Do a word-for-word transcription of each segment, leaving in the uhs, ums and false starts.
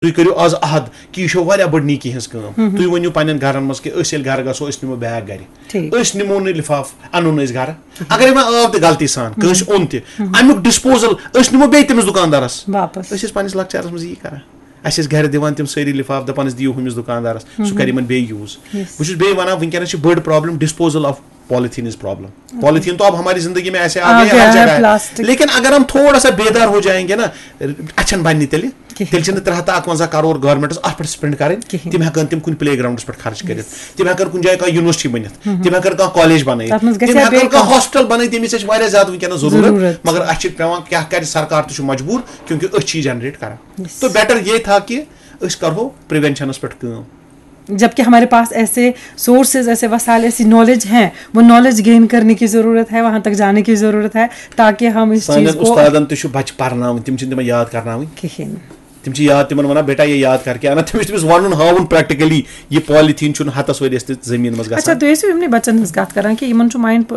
تُہۍ کٔرِو آز عہد کہِ یہِ چھو واریاہ بٔڑ نیکی ہٕنٛز کٲم۔ تُہۍ ؤنِو پننٮ۪ن گرن منٛز کہِ أسۍ ییٚلہِ گرٕ گژھو، أسۍ نِمو بیگ گرِ۔ ٹھیٖک۔ أسۍ نِمو نہٕ لِفاف، اَنو نہٕ أسۍ گرٕ۔ اگرے وۄنۍ آو تہِ غلطی سان کٲنٛسہِ اوٚن تہِ، اَمیُک ڈسپوزل أسۍ نِمو بیٚیہِ تٔمِس دُکاندارس۔ واپس۔ أسۍ ٲسۍ پننِس لۄکچارس منٛز یی کران۔ اَسہِ ٲسۍ گرِ دِوان تِم سٲری لِفاف، دَپان ٲسۍ، "دِیِو ہُمِس دُکاندارس، سُہ کرِ یِمن بیٚیہِ یوٗز۔" بہٕ چھُس بیٚیہِ وَنان، وٕنکیٚنَس چھِ بٔڑ problem disposal of polythene is problem۔ Polythene تو اب ہماری زندگی میں ایسے آ آ گئے ہیں، گیا ہر ہے جگہ ہے۔ پلاسٹک۔ لیکن اگر ہم تھوڑا سا بیدار ہو جائیں گے نا، اچھن بننہِ تیٚلہِ، کِہیٖنۍ۔ تیٚلہِ چھِنہٕ ترٛےٚ ہَتھ تہٕ اَکوَنزاہ کرور گورمنٹس اَتھ پٮ۪ٹھ spend کَرٕنۍ۔ کِہیٖنۍ۔ تِم ہٮ۪کَن تِم کُنہِ پلے گرٛاوُنڈَس پٮ۪ٹھ خرٕچ کٔرِتھ۔ تِم ہٮ۪کَن کُنہِ جایہِ کانٛہہ یونیورسٹی بٔنِتھ۔ تِم ہٮ۪کَن کانٛہہ کالج بَنٲیِتھ۔ تَتھ منٛز گژھِ تِم ہا ہٮ۪کَن بیٚیہِ کانٛہہ کانٛہہ۔ ہاسپِٹل بَنٲیِتھ، ییٚمِچ اَسہِ واریاہ زیادٕ وٕنکیٚنَس ضروٗرت۔ ضروٗرت۔ مگر اَسہِ چھِ پٮ۪وان کیٛاہ کَرِ، سرکار تہِ چھُ مجبوٗر، کیونکہ أسۍ چھِ یہِ generate کَران۔ Yes۔ تو better یہ تھا کہ أسۍ کَرہو preventionس پٮ۪ٹھ کٲم۔ جبکہ ہمارے پاس ایسے سورسز، ایسے وسائل، ایسی نالج ہیں، وہ نالج گین کرنے کی ضرورت ہے، وہاں تک جانے کی ضرورت ہے، تاکہ ہم اس سانٮ۪ن چیز کو استادن تہِ چھُ بچہِ پرناوٕنۍ، تِم چھِنہٕ تِمن یاد کرناوٕنۍ۔ کِہیٖنۍ۔ تِم چھِ یاد تِمن ونان، "بیٹا، یہ یاد کر کے آنا۔" تٔمِس چھُ تٔمِس ونُن، ہاوُن practically، یہِ polythene چھُنہٕ ہتس ؤرِیس تہِ زٔمیٖن منٛز اچھا، گژھان۔ تُہۍ ٲسِو یِمنٕے بچن ہٕنٛز کتھ کران کہِ یِمن چھُ ماینڈ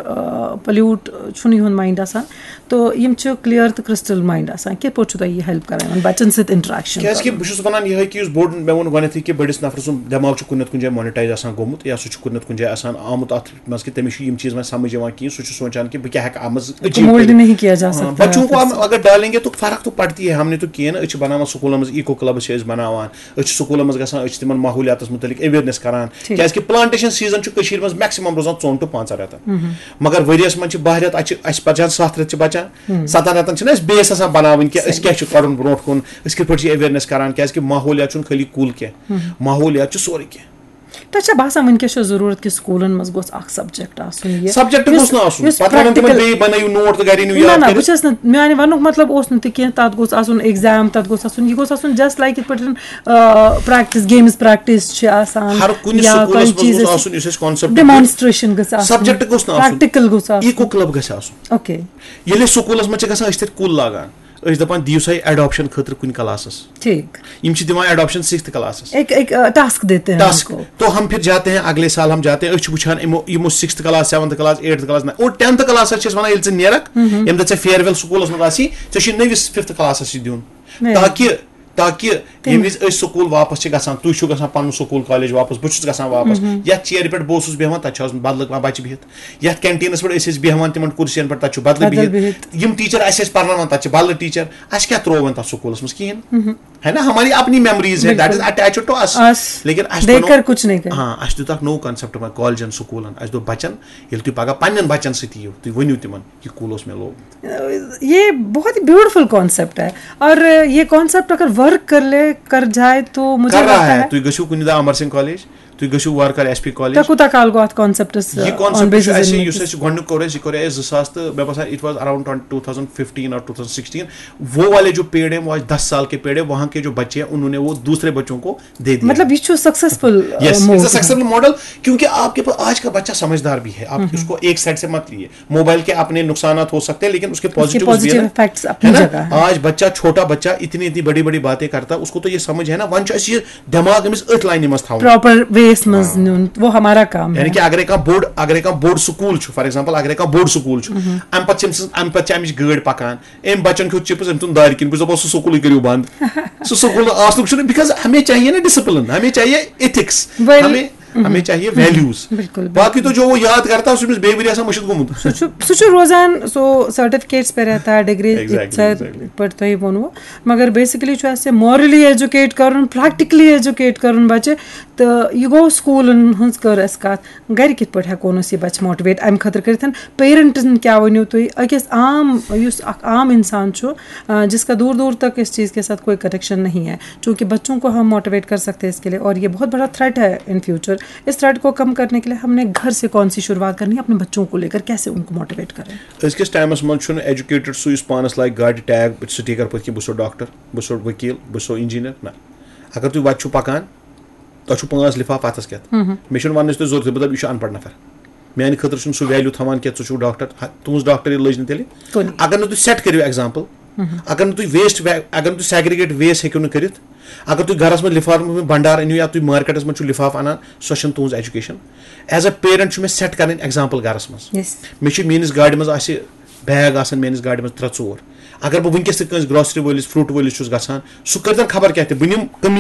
پلیوٹ، چھُنہٕ یِہُنٛد ماینڈ آسان، تو یِم چھِ کلیئر تہٕ کرسٹل ماینڈ آسان۔ کِتھ پٲٹھۍ چھُ تۄہہِ یہِ ہیلپ کران یِمن بچن سۭتۍ انٹریکشن؟ کیازِ کہِ بہٕ چھُس ونان یِہے کہِ یُس بوٚڑ، مےٚ ووٚن گۄڈنیتھٕے کہِ بٔڑِس نفرٕ سُنٛد دٮ۪ماغ چھُ کُنہِ نتہٕ کُنہِ جایہِ مونیٹایز آسان گوٚمُت، یا سُہ چھُ کُنہِ نتہٕ کُنہِ جایہِ آسان آمُت اتھ منٛز کہِ تٔمِس چھُ یِم چیٖز وۄنۍ سمجھ یِوان کِہیٖنۍ، سُہ چھُ سونچان کہِ بہٕ کیٛاہ ہٮ۪کہٕ اتھ منٛز achieve مولڈ کٔرِتھ۔ نہیں کیا جا ہاں، سکتا ہے بچوں کو ہم اگر ڈالیں گے تو فرق تو پڑتی ہے۔ ہم نے تو کیے نا، أسۍ چھِ بناوان سکوٗلن منٛز eco clubs چھِ أسۍ بناوان، أسۍ چھِ سکوٗلن منٛز گژھان، أسۍ چھِ تِمن ماحولیاتس متعلق awareness کران۔ ٹھیٖک۔ کیازِ کہِ plantation season چھُ کٔشیٖرِ منٛز maximum روزان ژۄن to پانٛژن رٮ۪تن۔ مگر ؤریس منٛز چھِ باہ رٮ۪تھ، اتہِ چھِ اَسہِ بچان ستھ رٮ۪تھ چھِ بچان، ستن رٮ۪تن چھِنہٕ اَسہِ base آسان بناوٕنۍ کہِ أسۍ صحیح۔ کیٛاہ چھِ کرُن برونٛٹھ کُن، أسۍ کِتھ پٲٹھۍ چھِ awareness کران، کیازِ کہِ ماحولیات چھُنہٕ خٲلی کُل کینٛہہ، ماحولیات چھُ سورُے کینٛہہ۔ تۄہہِ چھا باسان وٕنکیٚس چھےٚ ضروٗرت کہِ سکوٗلن منٛز گوٚژھ اکھ سبجیکٹ آسُن یہِ؟ سبجیکٹ یُس، گوٚژھ نہٕ آسُن۔ یُس پتہٕ ونن تِمن practical بیٚیہِ بنٲیِو نوٹ تہٕ گرِ أنِو نہ، یاد نہ، بہٕ کٔرِتھ۔ چھَس نہٕ، میانہِ ونُک مطلب اوس نہٕ تہِ کینٛہہ، تتھ گوٚژھ آسُن exam، تتھ گوٚژھ آسُن، یہِ گوٚژھ آسُن just like یِتھ پٲٹھۍ، آ، practice، games practice چھِ آسان، ہر کُنہِ یا سکوٗلس کانٛہہ منٛز چیٖز گوٚژھ آسہِ، آسُن یُس اَسہِ concept demonstration گٔژھ آسُن، subject گوٚژھ نہٕ آسُن۔ Practical گوٚژھ آسُن۔ Eco club گژھِ آسُن۔ اوکے۔ ییٚلہِ أسۍ سکوٗلس منٛز چھِ گژھان، أسۍ چھِ تَتہِ کُل لاگان۔ أسۍ دَپان، "دِیِو سا یہِ adoption خٲطرٕ کُنہِ کلاسس۔" ٹھیٖک۔ یِم چھِ دِوان adoption sixth کلاسس۔ ایک، ایک، آ، task دیتے ہیں ٹاسک۔ ان کو۔ تو ہم پھر جاتے ہیں، اگلے سال ہم جاتے ہیں، أسۍ چھِ وٕچھان یِمو، یِمو sixth class، seventh class، eighth class، نہ، اور tenth کلاسس چھِ أسۍ وَنان، ییٚلہِ ژٕ نیرَکھ، ییٚمہِ دۄہ ژےٚ farewell سکوٗلس منٛز آسی، ژےٚ چھُے نٔوِس fifth کلاسس یہِ دیُن۔ Right۔ تاکہِ، تاکہِ تَمہِ ییٚمہِ وِزِ أسۍ سکوٗل واپس چھِ گژھان، تُہۍ چھِو گژھان پنُن سکوٗل کالج واپس، بہٕ چھُس گژھان واپس، یَتھ چیرِ پٮ۪ٹھ بہٕ اوسُس بیٚہوان، تَتہِ چھِ آسان بدلہٕ کانٛہہ بچہِ بِہِتھ۔ یَتھ کینٹینس پٮ۪ٹھ أسۍ ٲسۍ بیٚہوان، تِمن کُرسین پٮ۪ٹھ، تَتہِ چھُ بدلہٕ بدل بِہِتھ۔ بِہِتھ۔ یِم ٹیچر اَسہِ ٲسۍ پرناوان، تَتہِ چھِ بدلہٕ ٹیچر۔ اَسہِ کیٛاہ ترٛوو وۄنۍ تَتھ سکوٗلس منٛز؟ کِہیٖنۍ۔ ہے نا، ہماری اپنی memories ہے، that is بِلکُل۔ Attached to us۔ Us۔ لیکن اَسہِ دیکھ بنوو، کر کچھ نہیں کرنا۔ ہاں، اَسہِ دیُت اکھ نوٚو concept وۄنۍ کالجن، سکوٗلن۔ اَسہِ دوٚپ بچن، ییٚلہِ تُہۍ پگاہ پننٮ۪ن بچن سۭتۍ یِیِو، تُہۍ ؤنِو تِمن، یہِ کُل اوس مےٚ لوگمُت۔ یہ بہت ہی بیوٹیفل کانسیپٹ ہے، اور یہ کانسیپٹ اگر ورک کر لے، کر جائے تو مجھے کر رہا لگتا ہے، ہے۔ تُہۍ گٔژھِو کُنہِ دۄہ امر سنگھ کالج، تُہۍ گٔژھِو وارٕ کارٕ ایس پی کالج۔ تۄہہِ کوٗتاہ کال گوٚو اتھ کانسیپٹس، یہِ آن کانسیپٹ بیسز چھُ اَسہِ، یُس اَسہِ گۄڈٕنیُک کوٚر اَسہِ، یہِ کوٚر اَسہِ زٕ ساس تہٕ مےٚ باسان it was around twenty, two thousand fifteen or two thousand sixteen۔ وہ والے جو پیڑ ہیں، وہ آج دس سال کے پیڑ ہیں، وہاں کے جو بچے ہیں، انہوں نے وہ دوسرے بچوں کو دے دیا۔ مطلب، یہ چھُ سکسیسفل، آ، Yes, it's a mode. Successful model، کیونکہ آپ کے پاس آج کا بچہ سمجھدار بھی ہے، آپ اس کو ایک سائیڈ سے مت لیے۔ موبائل کے اپنے نقصانات ہو سکتے ہیں، لیکن اس کے اس کے پازیٹیو بھی ہے پازیٹیو نا۔ افیکٹس اپنی ہے نا؟ جگہ ہے۔ آج بچہ، چھوٹا بچہ اتنی اتنی بڑی بڑی باتیں کرتا ہے، اس کو تو یہ سمجھ ہے نا، ون چھُ اَسہِ یہِ دٮ۪ماغ أمِس أتھۍ لاینہِ منٛز تھاوُن۔ پراپر ویس منٛز نیُن، وہ ہمارا کام ہے۔ یعنی کہ اگر کانٛہہ بوٚڑ، اگر کانٛہہ بوٚڑ سکوٗل چھُ، فار ایگزامپل، اگر کانٛہہ بوٚڑ سکوٗل چھُ، اَمہِ پتہٕ چھِ أمۍ سٕنٛز، اَمہِ پتہٕ چھِ اَمِچ گٲڑۍ پکان، أمۍ بچن کھیوٚت چپس، أمۍ ژھُن دارِ کِنۍ، بہٕ چھُس دپان، سُہ سکوٗلٕے کٔرِو بنٛد۔ سُہ سکوٗل آسنُک چھُنہٕ، because ہمیں چاہیے نا ڈسپلن، ہمیں چاہیے ایتھکس، ویل-، ہمیں، ہمیں چاہیے ویلیوز۔ بِلکُل، بِلکُل۔ باقٕے تو جو وہ یاد کرتا ہے، سُہ أمِس بیٚیہِ ؤرۍ آسان مٔشِتھ گوٚمُت۔ سُہ چھُ، سُہ چھُ روزان، سُہ سرٹیفکیٹس پہ رہتا ہے، ڈگری exactly، یِتھ exactly۔ پٲٹھۍ تۄہہِ ووٚنوُ۔ مگر بیسکلی چھُ اَسہِ مارلی ایجوکیٹ کرُن، پریکٹیکلی ایجوکیٹ کرُن بچہِ۔ تہٕ یہِ گوٚو سکوٗلن ہٕنٛز کٔر اَسہِ کَتھ۔ گرِ کِتھ پٲٹھۍ ہٮ۪کون أسۍ یہِ بچہِ موٹیویٹ اَمہِ خٲطرٕ کٔرِتھ؟ پیرنٹن کیٛاہ ؤنِو تُہۍ؟ أکِس عام، یُس اکھ عام انسان چھُ، آ، جس کا دور دور تک اس چیز کے ساتھ کوئی کنیکشن نہیں ہے، چونکہ بچوں کو ہم موٹیویٹ کر سکتے ہیں اس کے لیے، اور یہ بہت بڑا تھریٹ ہے ان فیوچر۔ اس تھریٹ کو کم کرنے کے لیے ہم نے گھر سے کون سی شروعات کرنی ہے، اپنے بچوں کو لے کر کیسے ان کو موٹیویٹ کریں؟ أزکِس ٹایمَس منٛز چھُنہٕ ایجوکیٹڈ سُہ یُس پانَس لایہِ گاڑِ ٹیگ سٹیکر پٔتۍ کِنۍ، "بہٕ چھُسو ڈاکٹر، بہٕ چھُسو ؤکیٖل، بہٕ چھُسو انجینئر"، نہ۔ اگر تُہۍ وَتہِ چھِو پَکان، تۄہہِ چھُو پانٛژھ لِفاف اَتھَس کٮ۪تھ۔ مےٚ چھُنہٕ وَننٕچ تۄہہِ ضروٗرتٕے، بہٕ دَپہٕ، یہِ چھُ اَن پَڑھ نفر۔ میٛانہِ خٲطرٕ چھُنہٕ سُہ ویلیوٗ تھاوان کینٛہہ، ژٕ چھُکھ ڈاکٹر، ہا، تُہٕنٛز ڈاکٹری لٔج نہٕ تیٚلہِ۔ کُنہِ۔ اگر نہٕ تُہۍ سیٹ کٔرِو ایگزامپل، اگر نہٕ تُہۍ ویسٹ، اگر نہٕ تُہۍ سیگریگیٹ ویسٹ ہیٚکِو نہٕ کٔرِتھ، اگر تُہۍ گَرَس منٛز لِفاف منٛز بنڈار أنِو یا تُہۍ مارکیٹَس منٛز چھُو لِفاف اَنان، سۄ چھَنہٕ تُہٕنٛز ایجوکیشن۔ ایز اے پیرنٹ چھُ مےٚ سیٹ کَرٕنۍ ایگزامپل گَرَس منٛز۔ Yes۔ مےٚ چھِ میٛٲنِس گاڑِ منٛز آسہِ بیگ آسان، میٛٲنِس گاڑِ منٛز ترٛےٚ ژور۔ اگر بہٕ وٕنکیٚس تہِ کٲنٛسہِ گراسری وٲلِس، فروٗٹ وٲلِس چھُس گژھان، سُہ کٔرۍتَن خبر کیٛاہ تہِ، بہٕ نِمہٕ کٔمی